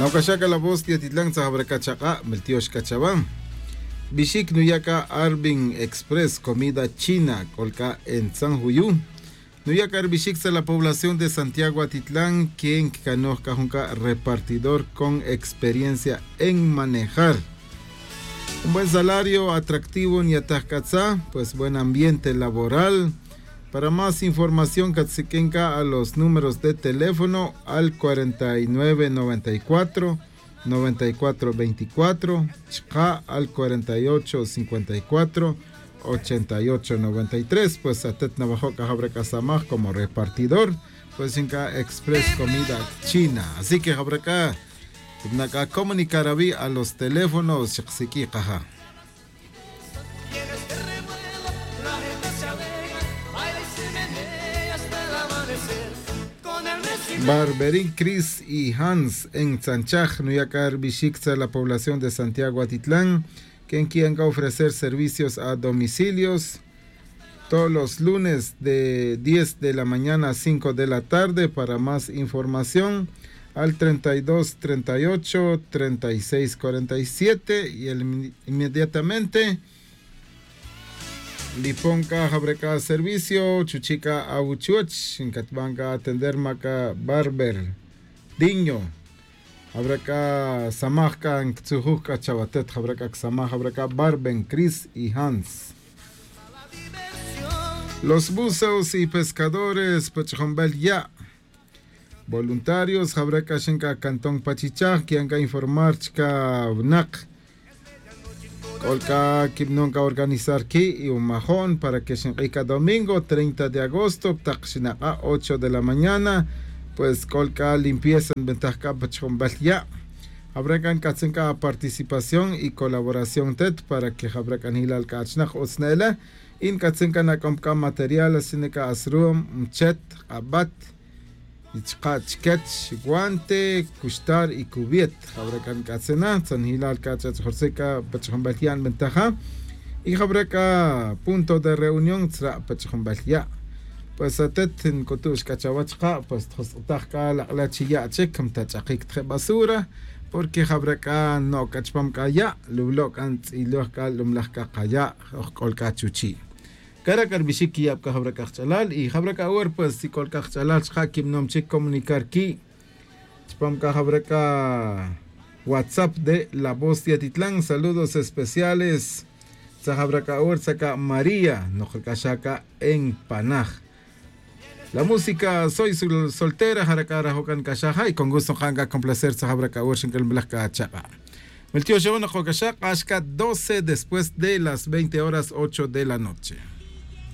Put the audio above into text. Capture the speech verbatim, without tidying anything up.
Nocaxaca la voz de atitlan tzajabra c'a chak'a' miltiox c'a chawa. Bixic nuya' c'a arbin express comida china c'ol c'a entzan juyu. Nuya' c'a rbixic tzaj la población de santiago atitlan quien ccanoj c'a jun c'a repartidor con experiencia en manejar. Un buen salario atractivo nyataj c'a tzaj pues buen ambiente laboral. Para más información catsiq'uin c'a a los números de teléfono al cuarenta y nueve noventa y cuatro noventa y cuatro veinticuatro, chka' al cuarenta y ocho cincuenta y cuatro ochenta y ocho noventa y tres. Pues atet nawajo' c'a jabra c'a samaj como repartidor pues yin c'a express comida china. Así que jabra c'a tibna' c'a comunicar awi' a los teléfonos xak siq'ui' kaja. Barberín cris y hans en tzanchaj nuya' c'a rbixic tzaj la población de santiago atitlan. Quien qui'an c'a ofrecer servicios a domicilios todos los lunes de diez de la mañana a cinco de la tarde para más información al treinta y dos treinta y ocho treinta y seis cuarenta y siete y el inmediatamente li pon c'a jabra c'a servicio chuchi' c'a awuchuch ncatban c'a atender ma c'a barber diño. Jabra c'a samaj c'a nctzujuj c'a chawatet jabra c'a csamaj jabra c'a barben cris y hans. Los buzos y pescadores pa ch'ajunbel ya' voluntarios jabra c'a xin c'a canton pa chichaj qui'an c'a informar chca winak. C'ol c'a quibnon c'a organizar qui' y umajo'n para que xink'ij c'a domingo treinta de agosto tak xinak'a' ocho de la mañana. Pues c'ol c'a limpieza nbentaj c'a pa chujunbel ya'. Jabra c'a nc'atzin c'a aparticipación y colaboración tet para que jabra c'a njilal c'a achnak utz ne'ele. Y nc'atzin c'a nak'om c'a material asina c'a asrum mchet k'abat y chka' chquech guante cuxtar y cubiet. Jabra c'a nc'atzin na tzanjilal c'a ch'ach'jortzi c'a pa ch'ajunbel ya' nbentaja. Y jabra c'a punto de reunión tzra' pa ch'ajunbel ya'. Pues atet nc'utu'x c'a chawech ka' pues tjosq'utaj c'a lak'le' chi ya' chic mtach'akic tje basura. Porque jabra c'a no' c'a chupam c'a ya' luwlo' c'a ntz'iloj c'a lumlaj c'a kaya' oj c'ol c'a chuchi'. Cara' c'a rbixic quiyab c'a jabra c'a kach'alal y jabra c'a awor pues si c'ol c'a kach'alal chka' quibnom chic comunicar qui' chupam c'a jabra c'a whatsapp de la voz de atitlan saludos especiales. Tza jabra c'a awor tza c'a maría nokra c'a xa c'a en panaj. La música soy soltera jara c'a rajo' c'a nc'axaj ja y con gusto nka'n c'a complacer tza jabra c'a awor xinc'ulmulaj c'a chak'a'. Miltioxon nokoc'axaj k'ax c'a doce después de las veinte horas ocho de la noche.